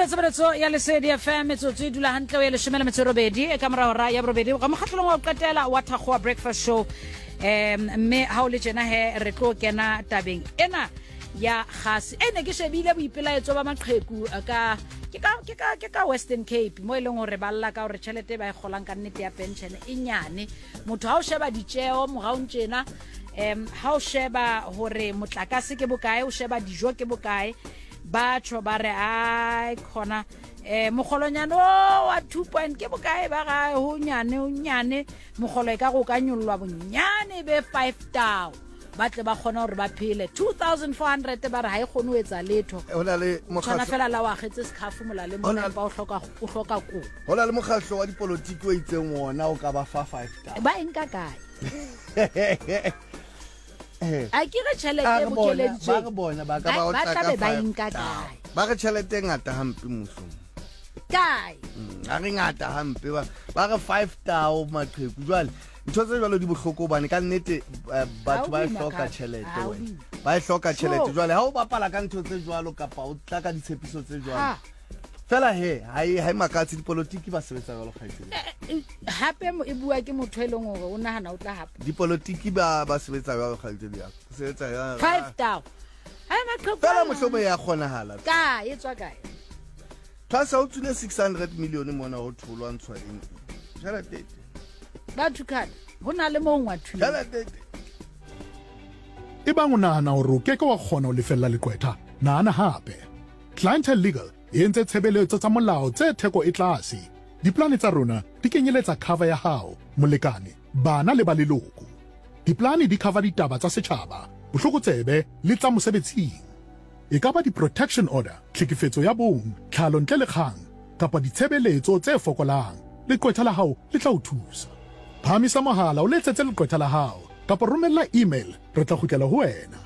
Tshebeletso ya Lesedi FM metsotso e dula hantle o ye leshome le metso e robedi e ka mora hora ya borobedi ga mokgatlholong wa go qetela wa Thakgowa Breakfast Show. Um mme ha o le tjena he re tlo kena tabeng ena ya gase e ne ke shebile boipelaetso ba maqheku eh, ka ke ka ke ka ke ka Western Cape mo e leng hore ba lla ka hore tjhelete e ba e kgolang ka nnete ya pension e nyane. Motho ha o sheba ditjeo moraong tjena, um ha o sheba hore motlakase ke bokae, o sheba dijo ke bokae, ba tjho ba re ai khona eh mogolonyane o wa 2 point ke bokae, ba ga ho nyane ho nyane mogolo e ka go ka nyollwa bonyane be 5 tao ba tle ba kgone gore ba phele. 2400 ba re ha e kgone ho etsa letho. Ho na le tshwana mokgatlo fela la o agetse sekhafo molaleng Ho na- mona, empa o hloka o hloka kobo. Ho na le mokgatlo wa dipolotiki o itseng wona o ka ba fa 5 tao. Ba eng ka kae? A ke re tjhelete A e re bona, ba bokeleditsweng re bona ba ka ba Ba- o ba tla ka tlabe ba five e nka tao. kae? Ba re tjhelete e ngata hampe mmusong. Kae? A re ngata hampe ba ba re 5 tao maqheku. Jwale ntho tse jwalo di bohloko hobane ka nnete eh, batho Ha o ba e boima hloka ka- tjhelete ha o wena. boima. Ba e hloka tjhelete. Sure. Jwale ha o bapala ka ntho tse jwalo kapa o tla ka ditshepiso tse jwalo. Ha. Fela he ha e ha e makatse, dipolotiki ba sebetsa jwalo kgaitsedi. Eh, eh, hape e bua ke motho e leng hore o nahana o tla hapa. Dipolotiki ba ba sebetsa jwalo kgaitsedi ya ka. Sebetsa jwalo. 5 tao. Ai maqheku. Fela ana. mohlomong ya kgonahala. Kae e tswa kae? Tlhasa o tswile 600 million mona ho tholwa ntshwa eng. Tjhelete e teng. Ba thukana. Ho na le mong wa thunya. Tjhelete e teng. Ebang o nahana hore o ke ke wa kgona ho lefella leqwetha, nahana hape. Clientele Legal e entse tshebeletso tsa molao tse theko e tlase. Diplane tsa rona di kenyeletsa cover ya hao, molekane, bana le ba leloko. Diplane di cover ditaba tsa setjhaba, bohlokotsebe le tsa mosebetsing. E ka ba di-protection order, tlhekefetso ya bong, tlhalo ntle le kgang, kapa ditshebeletso tse fokolang, leqwetha la hao le tla o thusa. Phahamisa mohala o letsetse leqwetha la hao kapa romella email re tla kgutlela ho wena.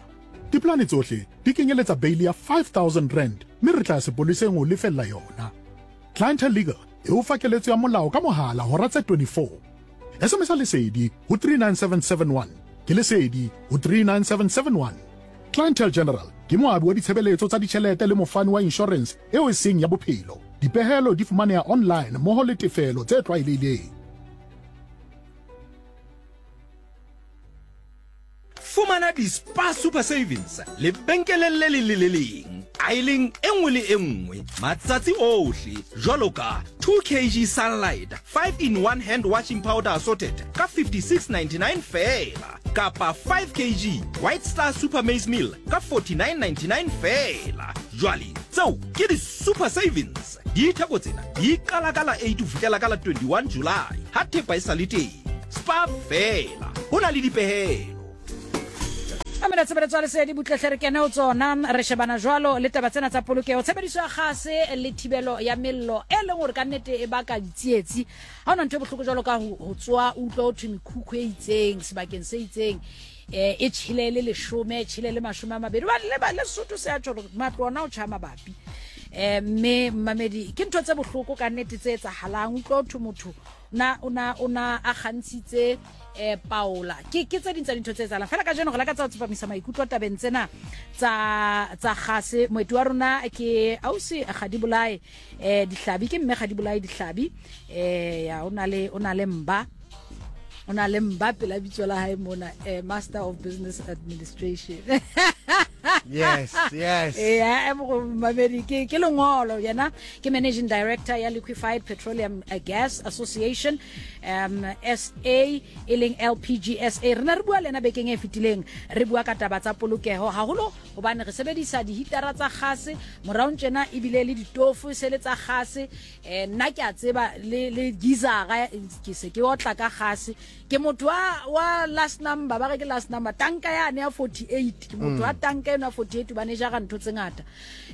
Diplane tsohle di kenyeletsa beili ya R5000 mme re tla ya sepoleseng ho lefella yona. Clientele Legal e o fa keletso ya molao ka mohala hora tse 24. SMS-a Lesedi ho 39771. Ke Lesedi ho 39771. Clientele General ke moabi wa ditshebeletso tsa ditjhelete le mofani wa inshorense eo e seng ya bophelo. Dipehelo di fumaneha online mmoho le tefelo tse tlwaelehileng. Fumana di-Spar Super Savings lebenkeleng le leng le le leng, aeleng e nngwe le e nngwe, matsatsi ohle, jwalo ka 2 kg Sunlight 5 in 1 hand washing powder assorted ka 56.99 feela, kapa 5 kg White Star Super Maize Meal ka 49.99 feela. Jwale tseo ke di-Super Savings. Ditheko tsena di qala ka la 8 ho fihlela ka la 21 July ha thepa e sa le teng. Spar feela, ho na le dipehelo. Mamela tshebeletso ya lesedi butlehle re kene ho tsona re shebana jwalo le taba tsena tsa polokeho, tshebediso ya kgase le thibelo ya mello e leng hore ka nnete e baka ditsietsi. Ha hona ntho e bohloko jwalo ka ho ho tsoa o utlwa ho thwe mekhukhu e itseng sebakeng se itseng eh e tjhele le leshome, e tjhele le 20. Ba le ba le Sesotho se a tjho hore matlo ona o tjha mabapi. Eh mme mmamedi ke ntho tse bohloko ka nnete tse etsahalang, utlwa ho thwe motho na o na o na a kgantshitse eh paola. Ke ke tse ding tsa dintho tse etsahalang. Fela kajeno re lakatsa ho tsepamisa maikutlo tabeng tsena tsa tsa kgase. Moeti wa rona ke ausi Kgadibolai eh Dihlabi, ke mme Kgadibolai Dihlabi. Eh ya o na le o na le mba o na le mba pela bitso la hae mona, eh Master of Business Administration. Yes, yes. Eh, eh, mamedi ke ke lengolo yena ke managing director ya Liquefied Petroleum eh, Gas Association SA e leng LPGSA. Re ne re bua le yena bekeng e fetileng, re bua ka taba tsa polokeho haholo hobane re sebedisa dihitara tsa gase moraong tjena ebile le ditofo se le tsa gase. Eh, nna ke a tseba le le gizara ke se ke otla ka gase. Ke motho wa wa last number, ba re ke last number tanka yane ya 48, ke motho wa tanka eno ya 48 hobane e jara ntho tse ngata.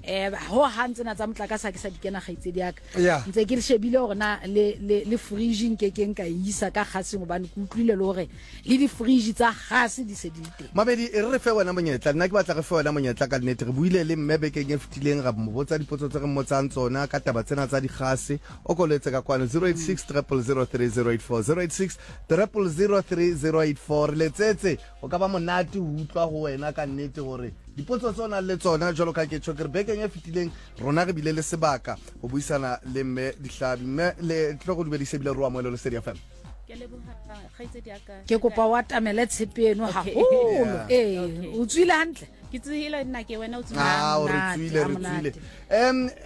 Eh ho hang tsena tsa motlakase ha ke sa di kena kgaitsedi ya ka. Ntse ke shebile hore na le le le fridge nke ke nka e isa ka gaseng hobane ke utlwile le hore le di fridge tsa gase di se di le teng. Mabedi, e re re fe wena monyetla. Nna ke batla re fe wena monyetla ka nnete. Re buile le mme bekeng e fetileng, ra mo botsa dipotso tse re mmotsang tsona ka taba tsena tsa digase. O ko letse ka kwano 086 000 3084, 086 000 3084. Re letsetse, go ka ba monate go utlwa go wena ka nnete gore Dipotso tse o nang le tsona jwalo ka ke tjho ke re bekeng e fetileng rona re bile le sebaka ho buisana le mme Dihlabi. Mme le tlo go dumedisa ebile re o amohele Lesedi FM. Ke leboha kgaitsedi ya ka. Ke kopa o atamele tshepe eno haholo. Ee, o tswile hantle? Ke tswile nna ke wena o tswile. Ah, re tswile, re tswile.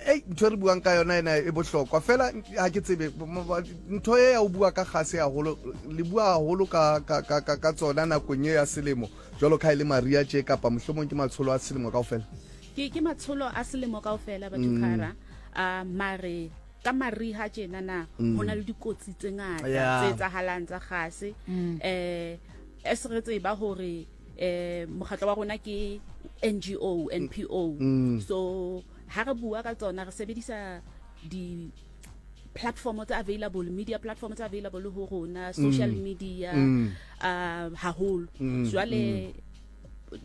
Ei, ntho e re buang ka yona ena e bohlokwa. Fela ha ke tsebe ntho e ya o bua ka gase haholo, le bua haholo ka ka ka ka tsona nakong e ya selemo. Jwalo ka ha e le mariha tje kapa mohlomong ke matsholo a selemo kaofela? Ke ke matsholo a selemo kaofela batho khara. A mare ka mariha tjena na ho na le dikotsi tse ngata tse etsahalang tsa gase. As re tseba hore mokgatlo wa rona ke NGO, NPO. So ha re bua ka tsona re sebedisa di platform tse available, media platform tse available ho rona, social media haholo. Jwale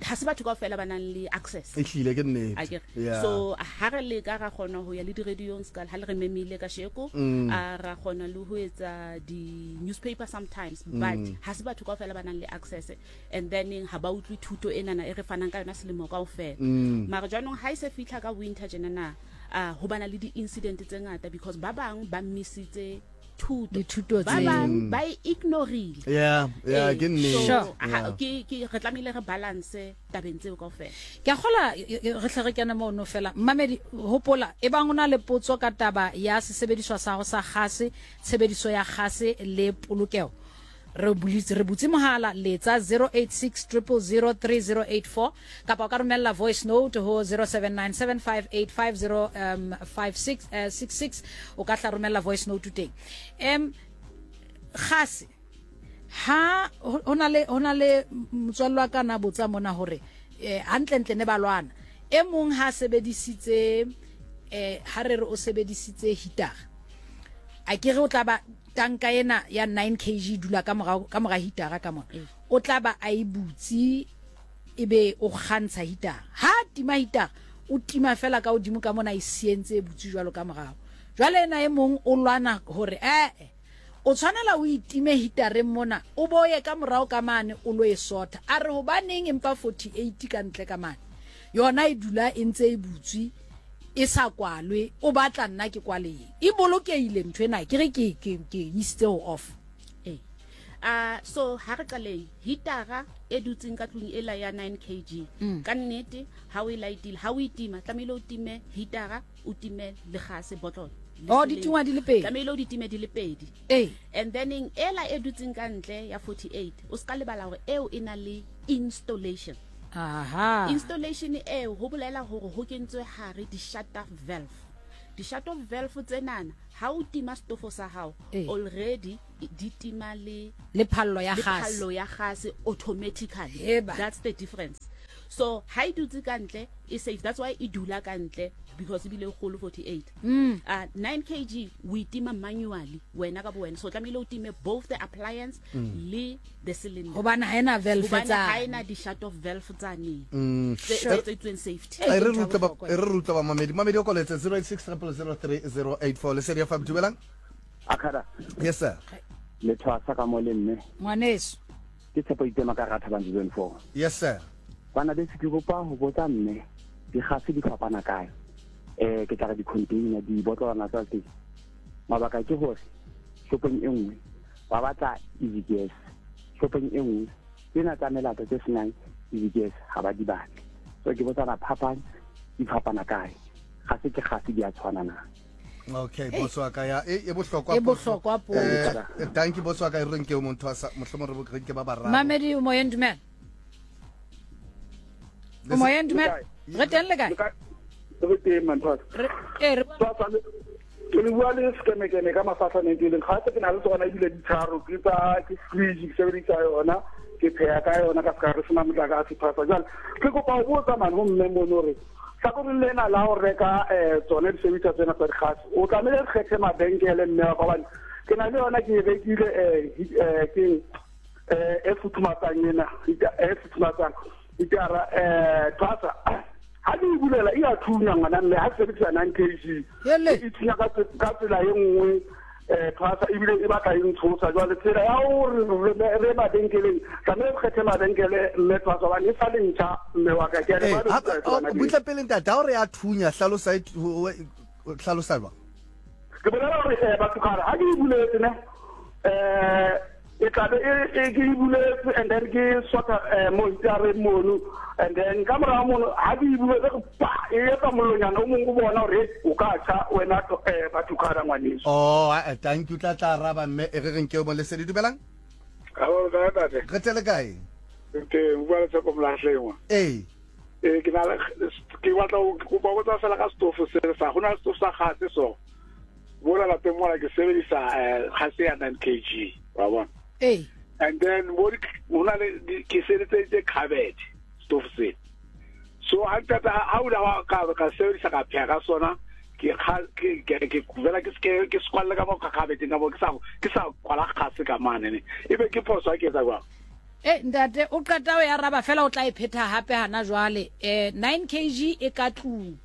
ha se batho kaofela ba nang le access. Ehlile ke nnete. Akere. So ha re leka ra kgona ho ya le di-radiong ska ha le re memile kasheko, a ra kgona le ho etsa di-newspaper sometimes, but ha se batho kaofela ba nang le access, and then ha ba utlwe thuto enana e re fanang ka yona selemo kaofela. Mara jwanong ha e se fihla ka winter tjena na, ho bana le di-incident tse ngata because ba bang ba missitse thuto. Dithuto Ba tseo. bang ba e ignorile. Yeah, yeah, ke nnete. So, Yeah. ke re tlamehile re balance tabeng tseo kaofela. Ke a kgola, re hle re kene mono fela. Mmamedi, hopola, ebang o na le potso ka taba ya sesebediswa sa hao sa gase, tshebediso ya gase le polokeho, re bulitse, re butse mohala, letsa 086 000 3084 kapa o ka romella voice note ho 07975850 56 66. O ka tla romella voice note teng. Gase ha ho na le, ho na le motswalle wa ka na botsa mona hore hantlentle ne ba lwana. E mong ha sebedisitse, ha re re o sebedisitse heater, a ke re o tla ba tanka ena ya 9 kg dula ka morao, ka mora heatera ka mona. O tla ba a e butse ebe o kgantsha heatera. Ha tima heatera, o tima fela ka hodimo ka mona e sientse e butse jwalo ka morao. Jwale ena e mong o lwana hore o tshwanela o itime heatereng mona, o boye ka morao ka mane o lo e sotha. A re hobaneng empa 48 ka ntle ka mane. Yona e dula e ntse e butswe e sa kwalwe, o batla nna ke kwale eng? E bolokehile ntho ena, ke re ke ke ke isitse ho off. So ha re qaleng heatera e dutseng ka tlung ela ya 9 kg. Ka nnete ha o e lightile, ha o itima tlamehile o time heatera, o time le gase bottle. Oh, di tingwa di le pedi. Tlamehile o di time di le pedi. And then eng ela e dutseng ka ntle ya 48, o ska lebala hore eo e na le installation. Aha. Installation eo ho bolela hore ho kentswe hare di shut off valve. Di shut off valve tsenana ha o tima stofo sa hao already di tima le le phallo ya le gas. phallo ya gas automatically. Eba. That's the difference. So ha e dutse ka ntle e safe, that's why e dula ka ntle because e bile kgolo 48. 9 kg o itima manually wena ka bo wena, so tlamehile o time both the appliance le the cylinder. Hobane ha ena valve Hobane tsa ha ena di shut off valve tsa neng. Sure. Tse tsweng safety. E re rutla ba, e re rutla ba mamedi. Mamedi o koletse 086 000 3084. Lesedi FM, dumelang. Akada. Yes sir. Le thwasa ka mo le mme. Ngwaneso. Ke tshepo itema ka ratha ba zone 4. Yes sir. Bana beso ke kopa ho botsa mme digase di fapana kae? Ke tla re di-container, dibotlolwana tsa teng. Mabaka ke hore shopong e nngwe ba batla easy gas, shopong e nngwe tsena tsa melata tse senang easy gas ha ba di batle. So ke botsana phapang di fapana kae? Ga se ke gase di a tshwana na? Okay, boss wa ka ya e bohlokwa E bohlokwa po. Thank you boss wa ka, e reng ke o motho wa sa mohlomong re bo ke ba bararo. Mamedi o moyeng, dumela. O moyeng, dumela. Re teng le kae? Re teng, Manthwasa. Re re Thwasa, ke le bua le sekemekeme ka mafahla neng ke leng. Ga se ke na le tsona ebile di tharo, ke tsa ke fridge ke sebedisa yona, ke pheha ka yona ka ska re sena motlakase Thwasa. Jwale ke kopa ho botsa man ho mme mono hore hlakoreng lena la ho reka tsone disebediswa tsena tsa dikgase, o tlamehile re kgethe mabenkele mme wa ka, hobane ke na le yona ke e rekile, ke e futhumatsang ena, e futhumatsang itara, Thwasa. Ha ke e bulela e a thunya ngwana mme, ha ke sebedisa 9 kg. Hele. E thunya ka tsela e nngwe. Eh, thwasa ebile e batla e ntshosa. Jwale tsela ya hore re mabenkeleng, tlamehile re kgethe mabenkele mme thwasa hobane e sa le ntjha mme wa ka. Ke a leboha eh, oh, butle pele ntate, ha o re ya thunya hlalosa e, hlalosa jwang? Ke bolela hore eh, batho kgale ha ke e buletse ne eh e tlabe e, e ke e buletse and then ke sota eh, mo hitareng mono and then ka morago mono ha ke e buletse re pa e etsa mollonyana o mongwe o bona gore o ka tjha wena eh, batho kgala ngwaneso. Oh, eh, thank you tla tla araba mme e re reng ke o mo lesedi dumelang. Hello, kae tate? Re tele kae? Re teng, bua le Tshepo Molahlengwa. Ee. Ee, ke na le ke batla go kopa go tsa fela ka stofo se sa go na le stofo sa gase so. Mola lapeng mola ke sebedisa eh, gase ya 9 kg, wa bona. Ee. And then mo go na le ke sebedisitse cupboard stofo se. So ha qeta ha o la ka ka sebedisa ka pheha ka sona ke ke ke ke vela ke ke ke squalle ka mo ka khabeteng ka mo ke sa ke sa kwala gase ka mane ne ebe ke phoso ha ke etsa jwang. E ntate o qeta o e araba fela o tla e phetha hape hana jwale eh 9 kg e ka tlung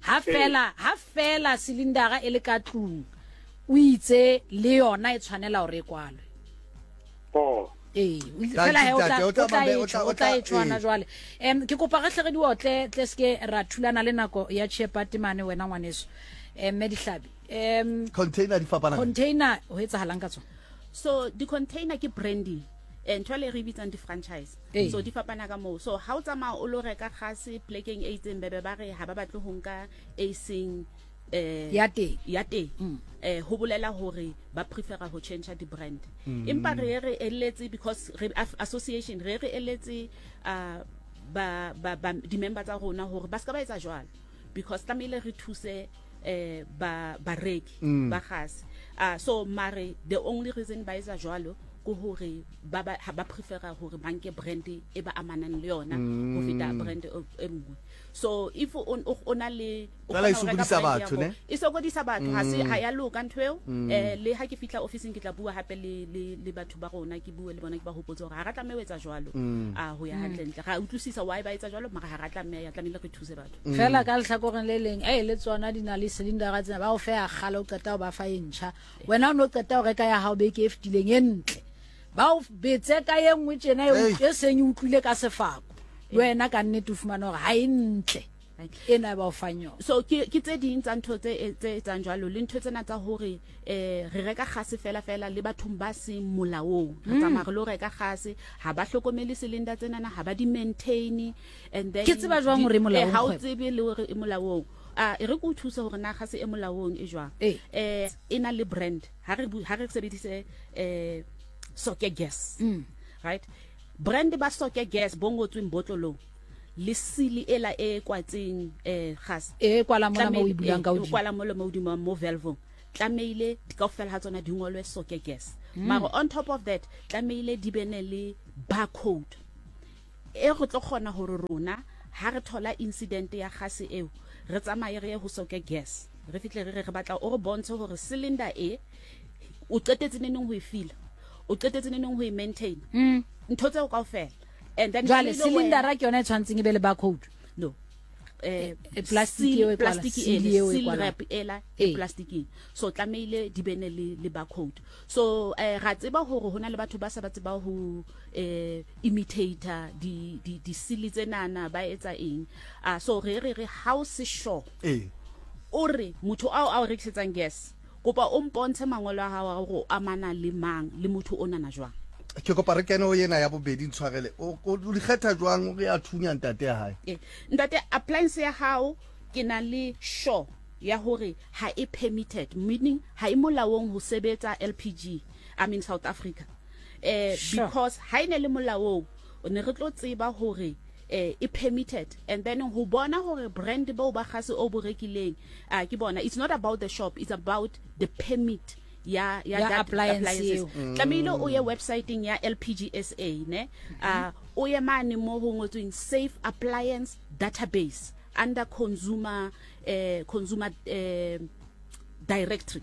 ha fela ha fela silindara e le ka tlung o itse le yona e tshwanela hore e kwalwe. Oh. Ee, fela he o tla o tla e o tla e tshwana jwale. Em ke kopa re hle re di otle tle ske ra thulana le nako ya Chepati mane wena ngwaneso. Em mme Dihlabi. Em container di fapana. Container ho etsahalang ka tsona? So di container ke branding. Eh, ntho le re bitsang di-franchise so di fapana ka moo. So ha o tsamaya o lo reka gase plekeng e itseng, bebe ba re ha ba batle ho nka e seng eh ya teng ya teng mm. eh ho bolela hore ba prefera ho change di-brand mm. Empa re re eletse because re association re re eletse uh, ba ba, ba di-member tsa rona hore ba ska ba etsa jwalo because tlamehile re thuse eh ba bareki mm. ba gase uh, so mare the only reason ba etsa jwalo ke hore ba ba ha ba prefera hore ba nke brand e ba amanang le yona ho feta mm. brand e nngwe. So if o o na le fela e sokodisa batho ne e sokodisa batho ha se mm. ha ya loka ntho eo mm. Eh le ha ke fitla office ke tla bua hape le le le batho ba rona ke bue le bona ke ba hopotse hore ha ra tlameha ho etsa jwalo mm. a ho ya hantle ntle ra utlwisisa why ba etsa jwalo mara ha ra tlameha ya tlamehile re thuse batho Fela ka lehlakoreng le leng, ei, le tsona di na le silindara tsena, ba o fe ya kgale, o qeta ho ba fa e ntjha. Wena o ne o qeta ho reka ya hao beke e fetileng e ntle. Ba o betse ka e nngwe tjena e, e seng e utlwile ka sefako. Le wena ka nnete o fumana hore ha e ntle ena e ba o fang yona. So ke ke tse ding tsa ntho tse tse etsang jwalo le ntho tsena tsa hore eh re reka gase fela fela le bathong ba seng molaong. Re tsamaya re lo reka gase, ha ba hlokomele cylinder tsenana, ha ba di maintain. And then Ke tseba jwang hore e molaong eh, ha o kgwebo? tsebe le hore e molaong. A e re ke o thuse hore na gase e molaong e jwang. Ee. Eh e na le brand. Ha re ha re sebedise eh Soke Gas. Right? Brand ba Soke Gas bo ngotsweng botlolong le sili ela e kwatseng eh gas. E kwala mona mo o e bulang ka E hodimo. kwala mola mo hodimo mo valve-ong. Tlamehile kaofela ha tsona di ngolwe Soke Gas. Mara on top of that tlamehile di be ne le barcode. E re tlo kgona hore rona ha re thola incident ya gase eo, re tsamaye re ye ho Soke Gas, re fihle re re re batla o re bontshe hore cylinder e o qetetse neneng ho e fila, o qetetse neneng ho e maintain, ntho tseo kaofela. And then Jwale tlamehile wena- cylindera ke yona e tshwantseng e be le barcode. No. Eh, Eh, plastic eo e kwala, plastic seal ele, eo e seal kwalang. wrap ela e Ee. plasticing. So tlamehile di be ne le le barcode. So eh ra tseba hore hona le batho ba sa ba tseba ho eh imitator di di di seal tsenana ba etsa eng. Ah so re re re ha o se sure. Ee. O re motho ao ao rekisetsang gas kopa o mpontshe mangolo a hao a hore o amana le mang le motho onana jwang. Ke kopa re kene ho ena ya bobedi ntshwarele. O o di kgetha jwang o re ya thunya ntate ya hae? Eh, ntate appliance ya hao ke na le sure ya hore ha e permitted meaning ha e molaong ho sebetsa LPG I mean South Africa eh Sure. because ha e ne le molaong o ne re tlo tseba hore eh e permitted and then ho bona hore brand boo ba gase o bo rekileng ah ke bona it's not about the shop, it's about the permit ya ya Ya that appliance appliances eo. Tlamehile o ye websiteng ya LPGSA ne ah o ye mane mo ho ngotsweng safe appliance database under consumer eh consumer eh directory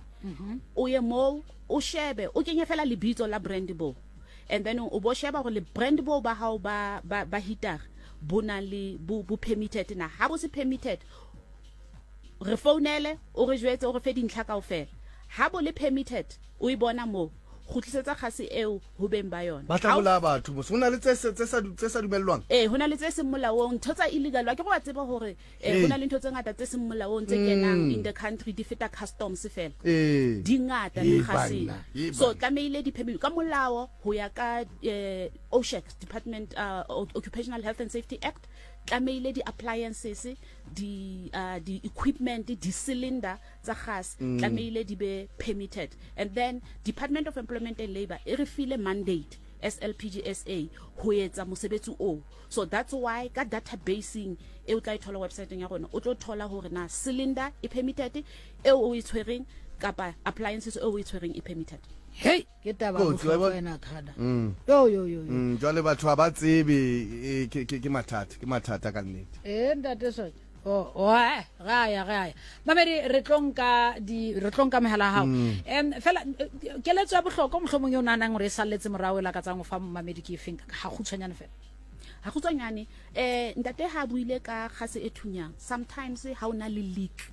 o ye moo o shebe o kenye fela lebitso la brand bo and then o bo sheba hore le brand bo ba hao ba ba, ba heater bo na le bo, bo permitted na ha bo se permitted re founele o re jwetse o re fe dintlha kaofela. Ha bo le permitted, o e bona moo, kgutlisetsa kgase eo ho beng ba yona. Ba tla bolaya batho mos. Ho na le tse tse sa tse sa dumellwang? Ee, ho na le tse seng molaong, ntho tsa illegal. Wa ke re wa tseba hore eh, ho na le ntho tse ngata tse seng molaong tse kenang in the country di feta customs fela. Di ngata le kgaseng. So tlamehile di permit ka molao ho ya ka eh, OSHAC Department uh, Occupational Health and Safety Act tlamehile di appliances di uh, di equipment di cylinder tsa gas mm. tlamehile di be permitted and then Department of Employment and Labor e re file mandate SLPGSA ho etsa mosebetsi o so that's why ka databaseng e o tla e thola websiteng ya rona o tlo thola hore na cylinder e permitted eo o e tshwereng kapa appliances eo o e tshwereng e permitted hey ke taba bohlokwa ena khada mm. yo yo yo mm, jwale batho ha ba tsebe e, ke ke mathata ke mathata ka nnete eh ntate soja Oh, oe, re a ya re a ya mamedi re tlo nka di re tlo nka megala gago mm. um fela eh, keletso ya bohlokwa mohlomong e o naganang gore e saletse morago e lakatsang go fa mamedi ke efeng ga khutshwanyane fela ga khutshwanyane um ntate ha buile ka gase e thunyang sometimes ha o na le leak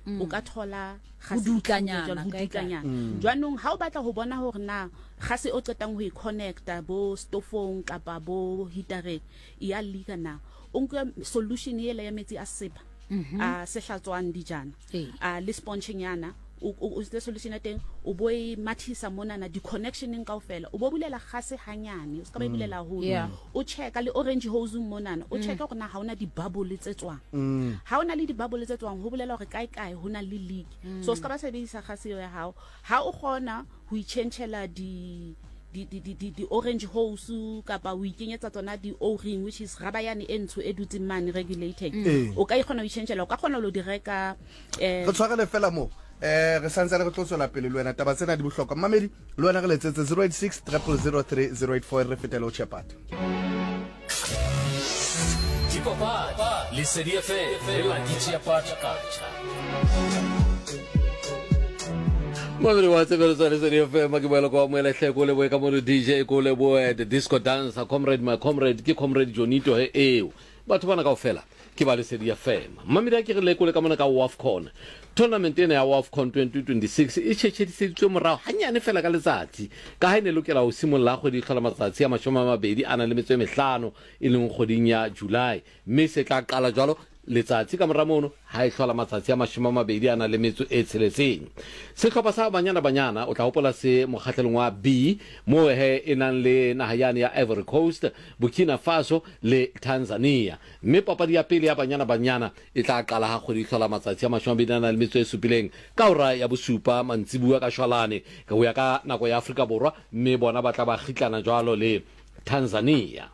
mm. o ka thola go dutlanyana go dutlanyana mm. jwanong ha o batla go bona gore na gase o qetang go e connecta bo stofong kapa bo heatereng e ya leaka na o nke solution ele ya metsi a sepa mhm. a se hlatswang dijana a le sponge nyana o itse solution ya teng o bo e mathisa monana di-connectioneng kao fela o bo bulela gase hanyane o se ka ba e mm. bulela haholo o checka le orange hose monana o mm. checka gore na ga ona di-bubble tse tswang mm. ha o na le di-bubble tse tswang ho bolela gore kae kae ho na le leak so o se ka ba sebedisa gase eo ya gago ha o kgona ho itjhentjhela di di di di di, di orange hose kapa o ikenyetsa tsona di o-ring which is raba yane e ntsho e dutseng mane regulating mm. o ka ikgona ho itjhentjhela o ka kgona lo di reka eh re tshwarele fela mo eh re santse re tlo tswela pele le wena taba tsena di bohlokwa mmamedi le wena re letsetse 086 000 3084 re fetele o chepata Dipapadi, Lesedi FM le la Ditšeapatšakatšha. Mamedi wa tshebeletso ya Lesedi FM ke boela kwa moela hle ko leboe ka mono DJ ko leboe the disco dancer comrade my comrade ke comrade Jonito he eo batho bana kaofela ke ba Lesedi FM mamedi a ke re lekole ka mona ka WAFCON tournament ena ya WAFCON 2026 e tšhetšhediseditswe morago hanyane fela ka letsatsi ka ha e ne lokela ho simolla kgwedi e hlola matsatsi a 20 a nang le metso e mehlano e leng kgweding ya July mme se tla qala jwalo letsatsi ka mora mono ha e hlola matsatsi a 20 a nang le metso e tsheletseng. Sehlopha sa Banyana Banyana o tla hopola se mokgahlelong wa B moo he e nang le naha yane ya Ivory Coast, Burkina Faso le Tanzania. Mme papadi ya pele ya Banyana Banyana e tla qala ha kgwedi e hlola matsatsi a 27 ka hora ya bosupa mantsibuya ka shwalane ho ya ka nako ya Afrika Borwa mme bona ba tla ba kgitlana jwalo le Tanzania.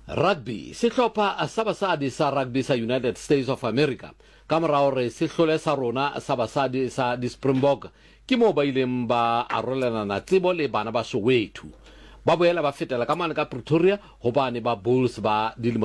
Rugby, Sehlopha sa basadi sa rugby sa United States of America ka mora hore se hlole sa rona sa basadi sa di-Springbok ke moo ba ileng ba arolelana tsebo le bana ba Soweto. Ba boela ba fetela ka mane ka Pretoria ho bane ba Bulls ba dilemo.